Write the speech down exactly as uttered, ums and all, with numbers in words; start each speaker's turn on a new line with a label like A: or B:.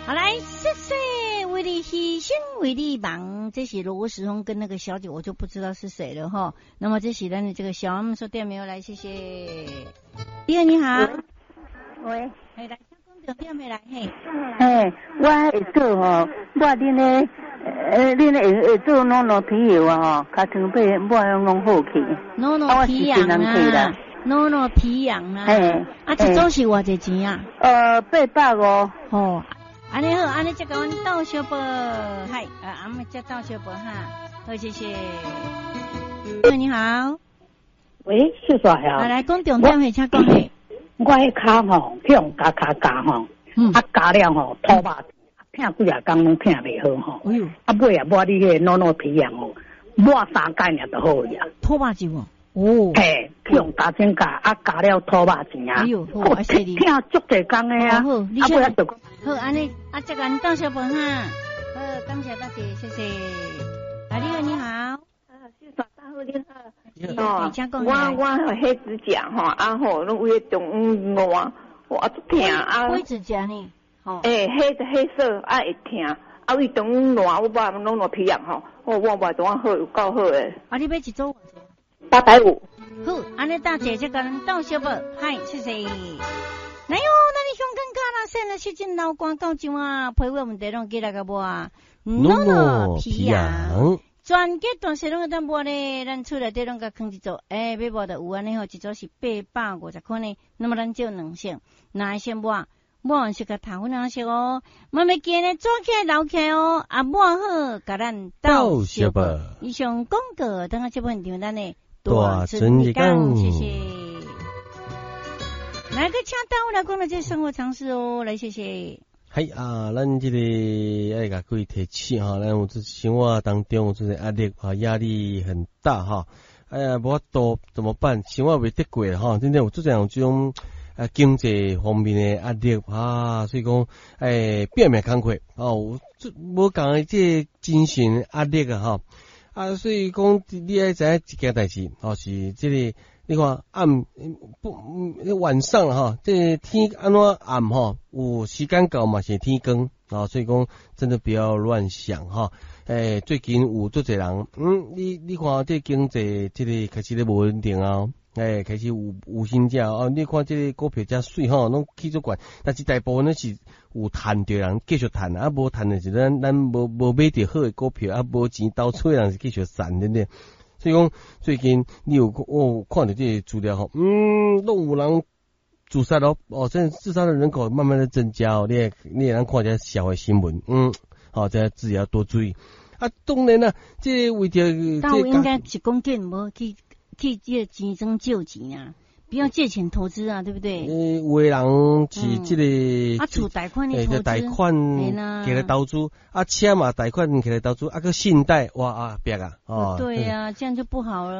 A: 好來，謝謝為你犧牲，為你忙，這是羅時豐跟那個小姐，我就不知道是誰了哈。那麼這是咱的這個小阿姆說店沒有來，謝謝。你好，你好。
B: 喂，
A: 嘿，來，請講重點的來，嘿。
B: 嘿，我會做吼，抹恁的，呃，恁的會會做暖暖皮藥啊吼，尻川尾抹攏好去。
A: 暖暖皮癢啊，暖暖皮癢啊。
B: 嘿，
A: 啊，一組是偌濟錢啊？
B: 呃，八百五。
A: 吼，按呢好，按呢才共阮鬥相報，嗨，啊，阿姆才鬥相報哈，好，謝謝。喂，你好。
C: 喂，秀帥啊。
A: 啊，來講重點的，請講的。
C: 我彼跤吼，去予咬跤咬吼，啊咬了吼，吐肉，疼幾仔工攏疼袂好吼。
A: 哎喲，
C: 啊尾啊抹你彼个暖暖皮癢吼，抹三工爾就好去啊。
A: 吐肉就哦。
C: 嘿，去予咬指甲，啊咬了吐肉錢啊。
A: 哎喲，好，啊犀利。
C: 疼足濟工的啊。
A: 好，
C: 啊尾啊就
A: 好，按呢，啊這個阮鬥相報哈。好，感謝大姐，謝謝。啊，你好，你好。
D: 啊，秀帥大好，你好。哦，我我彼指甲吼，啊吼，攏為中午熱，我足疼啊。
A: 火指甲呢？吼。
D: 欸，黑黑色啊會疼，啊為中午熱，我抹攏落皮癢吼，我抹抹怎好有夠好的。
A: 啊，你買一組偌濟？
D: 八百五。
A: 好，按呢大姐才共咱鬥相報，嗨，謝謝。來喲，咱的香港嘉那線的時陣老關到場啊，皮膚問題攏過來共抹，暖暖皮癢。全家大細攏會當抹咧，咱厝內底攏共囥一組，欸，欲抹就有按呢吼，一組是八百五十塊呢。那麼咱照兩色，哪一色抹？抹完是共頭粉色哦，嘛袂記咧，抓起來留起來哦，啊抹好，共咱鬥相報。以上廣告，等下這本場咱的
E: 大春日講，
A: 謝謝。來個請單位來講的這生活常識哦，來謝謝。
E: 嘿啊，咱這個愛共各位提醒哈，咱有這生活當中有這個壓力啊，壓力很大哈。哎呀，無法度怎麼辦？生活袂得過哈，真正有這樣這種啊經濟方面的壓力啊，所以講哎拼命工課哦，這無仝的這個精神壓力啊哈啊，所以講你愛知影一件代誌哦，是這個你看暗不晚上哈，這個天按怎暗吼，有時間到嘛是天光啊，所以講真的不要亂想哈。欸，最近有足濟人，嗯，你你看這經濟這個開始咧無穩定啊，欸，開始有有薪者哦，你看這個股票遮媠吼，攏起足懸，但是大部分攏是有趁著人繼續趁，啊無趁的是咱咱無無買著好的股票，啊無錢投資的人是繼續散，對不對？所以講最近你有我看著這個資料吼，嗯，攏有人自殺咯，哦，這自殺的人口慢慢的增加哦，你會你會當看這社會新聞，嗯，好，這自己要多注意。啊，當然啦，這為著
A: 但應該是講緊無去去這個錢莊借錢啊，不要借錢投資啊，對不對？
E: 欸，有的人是這個
A: 啊，厝貸款的投資，
E: 貸款起來投資，啊，車嘛貸款起來投資，啊，閣信貸，哇啊，別啊，哦，
A: 對啊，這樣就不好了。